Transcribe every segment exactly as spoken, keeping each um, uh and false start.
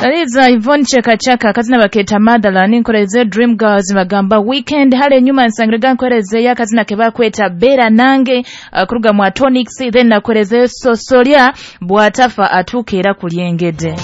Laliza Yvonne Cheka Cheka, akazina baketa Motherland. Nkoreze Dream Girls, bagamba Weekend. Hale nyuma nsangirega nkoreze akazina kebakweta Bera Nange, uh, kuruga mu Tonics. Then nakoreze Sosolya Bwatafa atukeera kulyengede.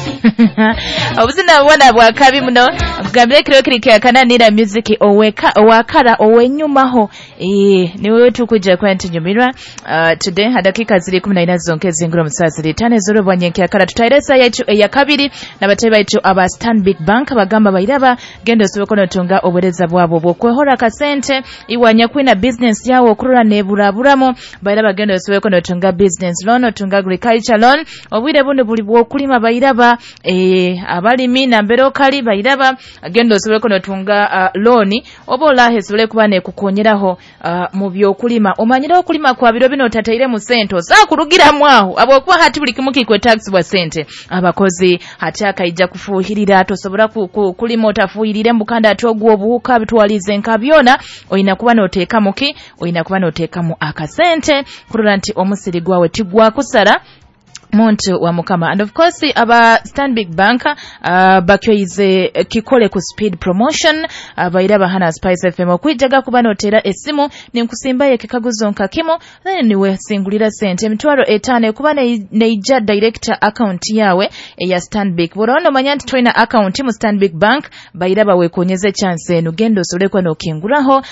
Obuzina bwana bwa kabi muno. Kugambire kiro kiri kyakananira music oweka owakara owenyumaho, eh niwe tukuja kwa ntinyumirwa. uh, today hadakika ziri kumi na ina zonke zingura musazi litane zoro bwanyenke akara tutairesa yaitu eya kabiri n'abatayi baitu aba Stanbic Bank. Bagamba bairaba genda osoboko notunga obuwereza bwabo bwokwehora akasente iwanya kwina business yawo okurora neburaburamo. Bairaba genda osoboko notunga business loan, otunga agriculture loan. Obwire buno buli bwokulima. Bairaba eh, abalimi nambere okali, bairaba genda osoboko notunga uh, loan oba olahe esobole kuba nekukonyeraho uh, mu byokulima. Omanyire okulima kwa biro bino otataire mu sente osaakurugiramu aho, abwokuba hati buli kimu kikwetagisibwa sente, abakozi hati akaija kufuuhirira. Tosobora ku, ku, kulima otafuuhirire mukanda ati ogwo obuhuka bitwalize nka byona. Oyina kuba noteekamu ki? Oyina kuba noteekamu akasente kurora nti omusiri gwawe tigwakusara, muntu wa Mukama. And of course aba Stanbic Bank uh, bakyoize kikole ku speed promotion. uh, bairaba hana Spice F M okwijaga kuba notera esimu ninkusimbaye kikaguzo nka kimu, then niwe singulira sente emitwaro etaano kuba neija direct account yawe eya Stanbic. Bw'ono omanya nti tolina account mu Stanbic Bank, bairaba wekonyeze chance eno, genda osobole kuba nokinguraho uh,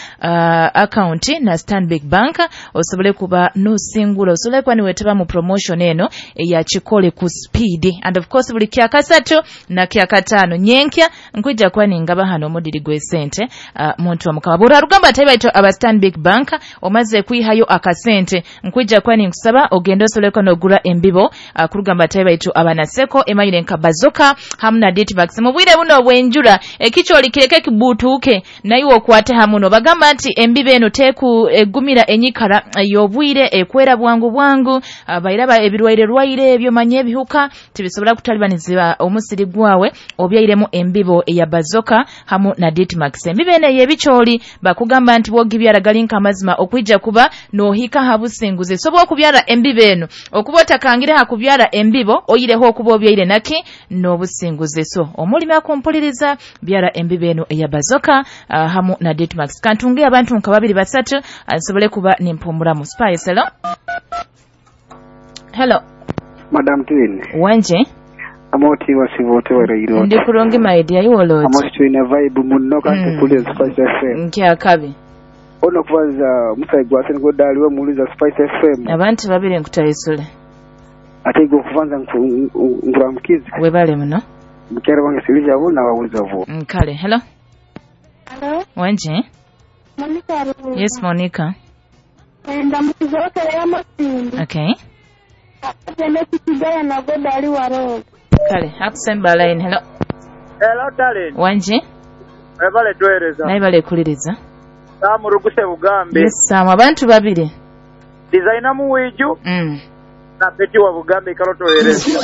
account na Stanbic Bank, osobole kuba nosingula, osobole kuba niwetaba mu promotion eno ya kikole ku speed. And of course buli kyakasatu na kyakataano nyenkya nkwija kuba ningaba hano omudiri gw'esente, uh, muntu wa Mukama. Bw'olwa rugamba ate baito aba Stanbic Bank omaze kwihayo akasente, nkwija kuba ninkusaba ogende osoleko n'ogura embibo uh, kurugamba ate baitu abanaseko emayire nka Bazoka hamu na Ditmax. Mu bwire buno obw'enjura ekikyoli kireke kibuutuuke naye okwate hamuno. Bagamba nti embibo eno teku egumira enyikara y'obwire, ekwera bwangu bwangu. uh, bairaba ebirwaire rwaire ebyo, manye ebihuka tibisobola kutalibaniza omusiri gwawe obyairemu embibo eya Bazoka hamu na Ditmax. Embibo eno ey'ebikyoli bakugamba nti bwogibyara gali nk'amazima okwija kuba nohika ha businguzi. Sobola okubyara embibo eno okuba otakangire ha kubyara embibo oyireho okuba obyaire naki n'obusinguzi. So omulimi akumpuliriza, byara embibo eno eya Bazoka uh, hamu na Ditmax. Kantunge abantu nka babiri basatu nsobole kuba nimpumulamu. Spice, hello, hello. Madam Twin. Wanje. Amoti wasivote warairo. Ndi kurungi, my dear, iwoloti? Amoti twine vibe muno kandi mm. kuli Spice F M. Nkyakabi. Ono kubaza musayi gwase niko daliwe muliza Spice F M. Abantu babiri nkutayisule. Ate go kuvanza nkuramukizi. Webale muno. Mukere wange silija abo na wawuliza vo. Nkale, hello. Hello. Wanje. Monica. Yes, Monica. Ndamukiza ya masindi. Okay. Kigaya na godali waroga. Kale, akusemba line, hello. Hello, darling. Wanje. Webale tuwereza. Naye bale kuliriza. Samu Ruguse Bugambe. Yes, Samu, abantu babiri. Designer Muwiju. Mm. Na Peti wa Bugambe ikalo tuwereza.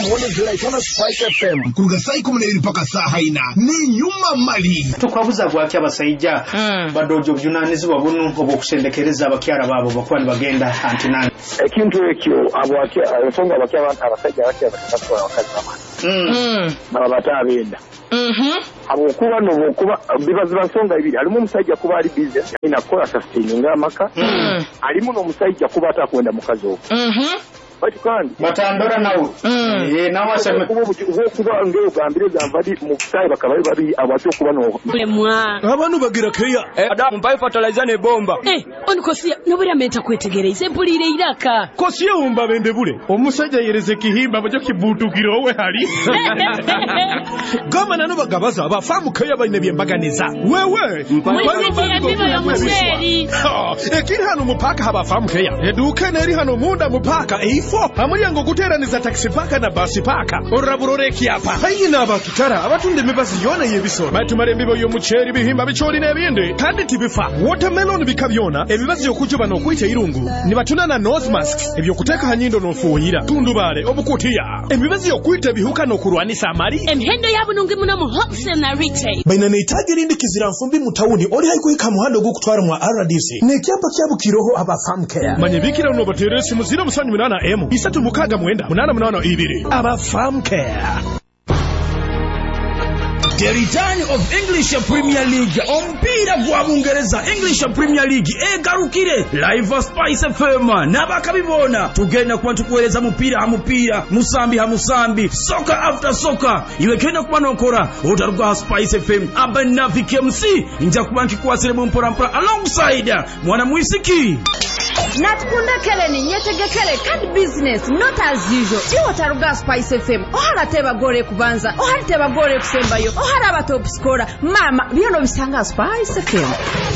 Kila Spice F M kuruga saa ikumi na ibiri mpaka saa haina ni nyuma mali. Tukwabuza bwaki abasajja Mm. badojo obuvunanyizibwa buno obw'okusendekereza abakyala baabo bakuba nibagenda antinani? Ekintu ekyo ensonga abasajja abakyala batasuula abakazi bamala Mm. baba bate abenda Mhm. habwokuba nobwokuba biba ziba nsonga ibiri. Halimu omusajja kuba ali busy alina kukola sustaininga amaka, Mm. halimu n'omusajja kuba atakwenda mukazi ogwo. Mhm. Baitu kandi batandora nawe. Mm. Eh, nawe aseme. Obwokuba ng'ogambire gamba di mu busaayi bakaba bali babiri abatya okuba no Lemwa. Abantu bagira keya. Adamu mpaye fertilizer ne bomba. Eh, onikosia nobura menta kwetegereza empulire iraka. Kosiye wumba bende bule omusajja yereze kihimba bajo kibutukira owe hali gama nano bagabaza abafamu keya baine byembaganiza wewe. Mulisiki embibo y'omuceeri. Ekiri hano mupaka habafamu keya eduka neri hano munda mupaka eifo amulyango guteraniza taxi paka na basi paka oraburore ekyapa hayina abakitara abatunda emibazi yona y'ebisoro batumara embibo y'omuceeri, bihimba, bikyoli n'ebindi kandi tibifa, watermelon bika byona, emibazi y'okujuba n'okwita irungu nibatuna na nose masks ebyokuteeka ha nyindo n'ofuuyira tundubale obukutiya emibazi y'okwita ebihuka n'okurwanisa amali. Emihendo yabunungi muno mu wholesale na retail. Baina neitaji erindi kizira nfumbi mu tawuni oli haikuhika muhando ogw'okutwara mwa R D C n'ekyapa kyabukiroho aba Farm Care. Manye bikira unobateera esimu ziro musanju munaana emu isatu mukaaga mwenda munaana munaana ibiri. Aba Farm Care. The return of English Premier League, omupiira gwa Bungereza. English Premier League egarukire live. Spice F M n'abakabi boona tugenda kuba tukuweereza mupiira ha mupiira, musambi ha musambi, soccer after soccer. Iwe genda kuba nokora otaruga ha Spice F M. Abanavi M C nja kuba nkikwasiremu mpola mpola alongside mwana mwisiki. Natukunda Keleni, nyetegekere kandi business not as usual. Iwo taruga Spice F M. Ohara tebagore kubanza, ohari tebagore kusembayo, ohara aba top scorer. Mama, byono bisanga Spice F M.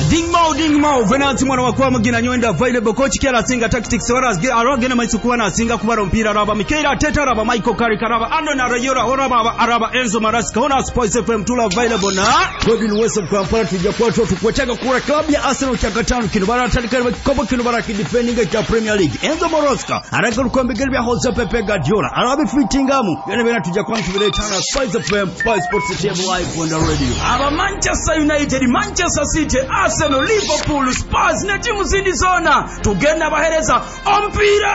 Dingmao dingmao Venansi mwana wakwa mugina nywenda available. Coach Kiara asinga tactics, wara aragena maiso kuba asinga kubara omupiira. Araba Mikel Arteta, araba Michael Carrick, araba Andoni Iraola, araba araba Enzo Maresca. Hona Spice F M tula available na Godwin West Kampala. Tujja kuba tukwetaga kura club ya Arsenal kyakatano kino baratandika kikopo kino barakidefendinga kya Premier League. Enzo Maresca aragaruka mbigeri bya Jose Pepe Guardiola arabifitingamu byona byona tujja kuba tubireetana Spice F M, Spice Sports T V live on the radio. Aba Manchester United, Manchester City, Arsenal, Liverpool, Spurs ne timu zindi zona tugenda bahereza omupiira.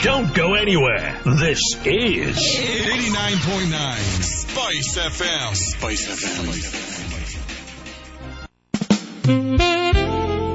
Don't go anywhere. This is eighty-nine point nine Spice F M. Spice F M.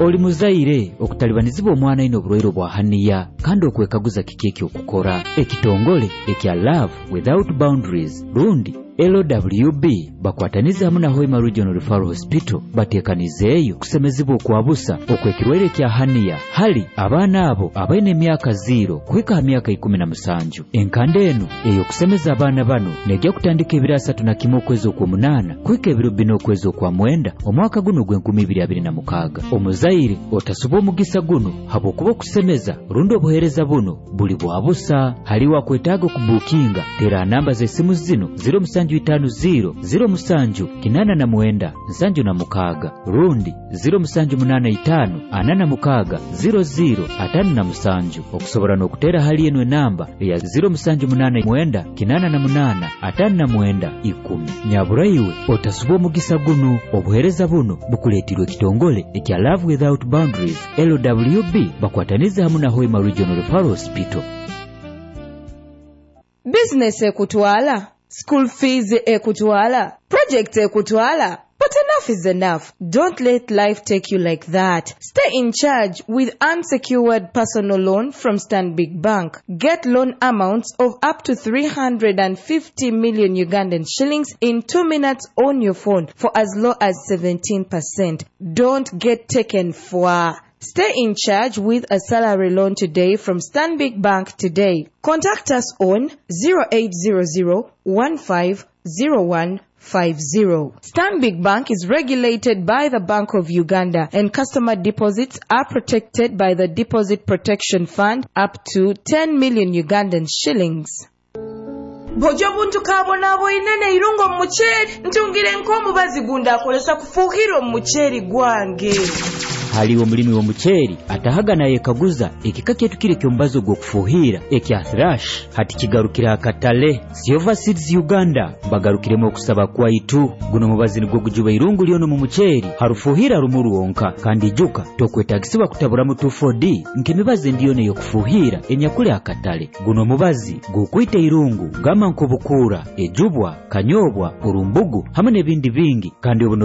Oli muzaire okutalibanizibwa omwana ino obulwaire bwa haniya kandi okwekaguza kiki ekyokukora. Ekitongole ekya Love Without Boundaries rundi L W B bakwataniza hamu na Hoima Regional Referral Hospital bateekanizeeyo kusemezibwa okwabusa okwekirwaire kya haniya hali abaana abo abaine emyaka ziro kuhika ha myaka ikumi na musanju. Enkanda eno ey'okusemeza abaana bano nejja kutandika ebiro asatu na kimu okwezi okwomunaana kuhika ebiro bina okwezi okwa mwenda omwaka guno ogw'enkumi ibiri abiri na mukaaga. Omuzaire otasuba omugisa guno habwokuba okusemeza rundi obuheereza buno buli bwa busa. Haliwo akwetaaga okubuukinga, tera namba z'esimu zino: ziro musanju itaano ziro ziro musanju kinana na mwenda nsanju na mukaaga rundi ziro musanju munana itaano ana na mukaaga ziro ziro atano na musanju. Okusobora n'okuteera hali eno enamba eya ziro musanju munana mwenda kinana na munana atano na mwenda ikumi. Nyaburaiwe otasuba omugisa guno. Obuheereza buno bukuleetirwe ekitongole ekya Love Without Boundaries L W B bakwataniza hamu na Hoima Regional Referral Hospital. Bizinesi ekutwala, school fees ekutwala, project ekutwala. But enough is enough. Don't let life take you like that. Stay in charge with unsecured personal loan from Stanbic Bank. Get loan amounts of up to three hundred fifty million Ugandan shillings in two minutes on your phone for as low as seventeen percent. Don't get taken for. Stay in charge with a salary loan today from Stanbic Bank today. Contact us on zero eight zero zero one five zero one five zero. Stanbic Bank is regulated by the Bank of Uganda and customer deposits are protected by the Deposit Protection Fund up to ten million Ugandan shillings. Bw'ojja buntu kabonaboine irungo mu muceeri ntungire nk'omubazi gundi akolesa kufuuhira omu muceeri gwange. Haliwo omulimi w'omuceeri atahaga nayekaguza ekika kyetu kiri eky'omubazi ogw'okufuuhira ekya Thrash hati kigarukira akatale. Silver Seeds Uganda bagarukiremu okusaba kwaitu. Guno mubazi nigwo gujuba irungu lyono mu muceeri harufuuhira rumu rwonka, kandi ijuka tokwetagisibwa kutaburamu two four D nk'emibazi endiyona ey'okufuuhira enyakuli akatale. Guno mubazi gukwita irungu gama nk'obukuura, ejubwa, kanyobwa, orumbugu hamwe n'ebindi bingi kandi obuno.